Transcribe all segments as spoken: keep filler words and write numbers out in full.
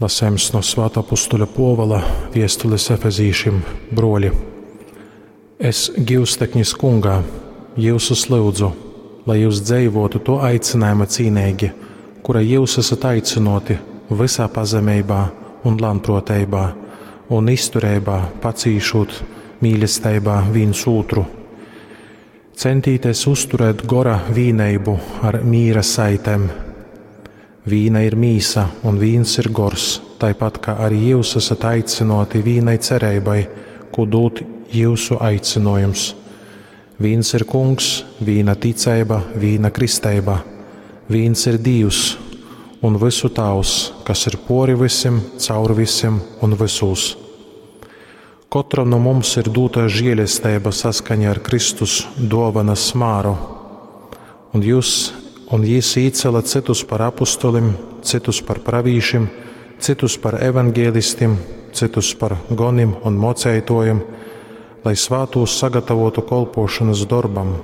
Lasējums no Svātā apustuļa Pōvula viestules Efezīšim, bruoļi. Es gyusteknis kungā, jyusus lyudzu, lai jyus dzeivotu to aicinājuma cīneigi, kura jyus esat aicynōti vysā pazemeibā un lānprōteibā un iztureibā pacīšūt mīlesteibā vīns ūtru. Centīties uzturēt gora vīneibu ar mīra saitēm. Vīna ir mīsa un vīns ir gors, taipat kā arī jyus esat aicynōti vīnai cereibai, kū dūd jyusu aicinojums. Vīns ir kungs, vīna ticeiba, vīna kristeiba. Vīns ir Dīvs un vysu Tāvs, kas ir pōri vysim, caur vysim un vysūs. Kotram no mums ir dūta žēlesteiba saskaņā ar Kristus dōvanas māru. Un jūs un jis īcēla cytus par apustulim, cytus par pravīšim, cytus par evangelistim, cytus par gonim un moceitojim, lai svātūs sagatavotu kolpošanas dorbam,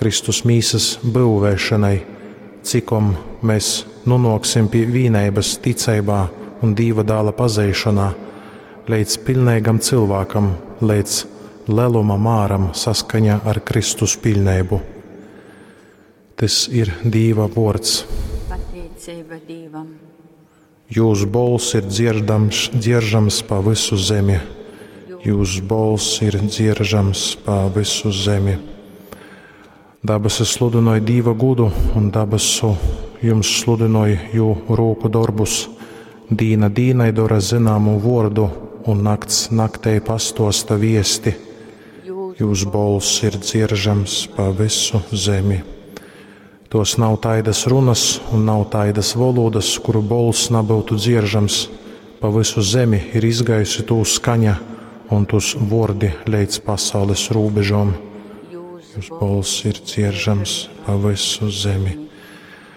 Kristus mīsas byuvēšanai, cikom mēs nonāksim pie vīneibas ticeibā un Dīva dāla pazeišanā, līdz pilnīgam cilvēkam, līdz leluma māram saskaņā ar Kristus pilnību. Tas ir Dīva vārds. Pateicība Dīvam. Jūs bols ir dzirdams, dzieržams pa visu zemi. Jūs bols ir dzieržams pa visu zemi. Dabasis sludināja Dīva gudu, un dabasu jums sludināja jū rūku darbus. Dīna dīnai dara zināmu vārdu, un nakts naktei pastosta viesti. Jūs bols ir dzieržams pa visu zemi. Tos nav taidas runas un nav taidas valodas, kuru bols nebūtu dzieržams. Pa visu zemi ir izgājusi tū skaņa un tūs vordi līdz pasaules robežom. Jūs Jūs bols ir dzieržams pa visu zemi.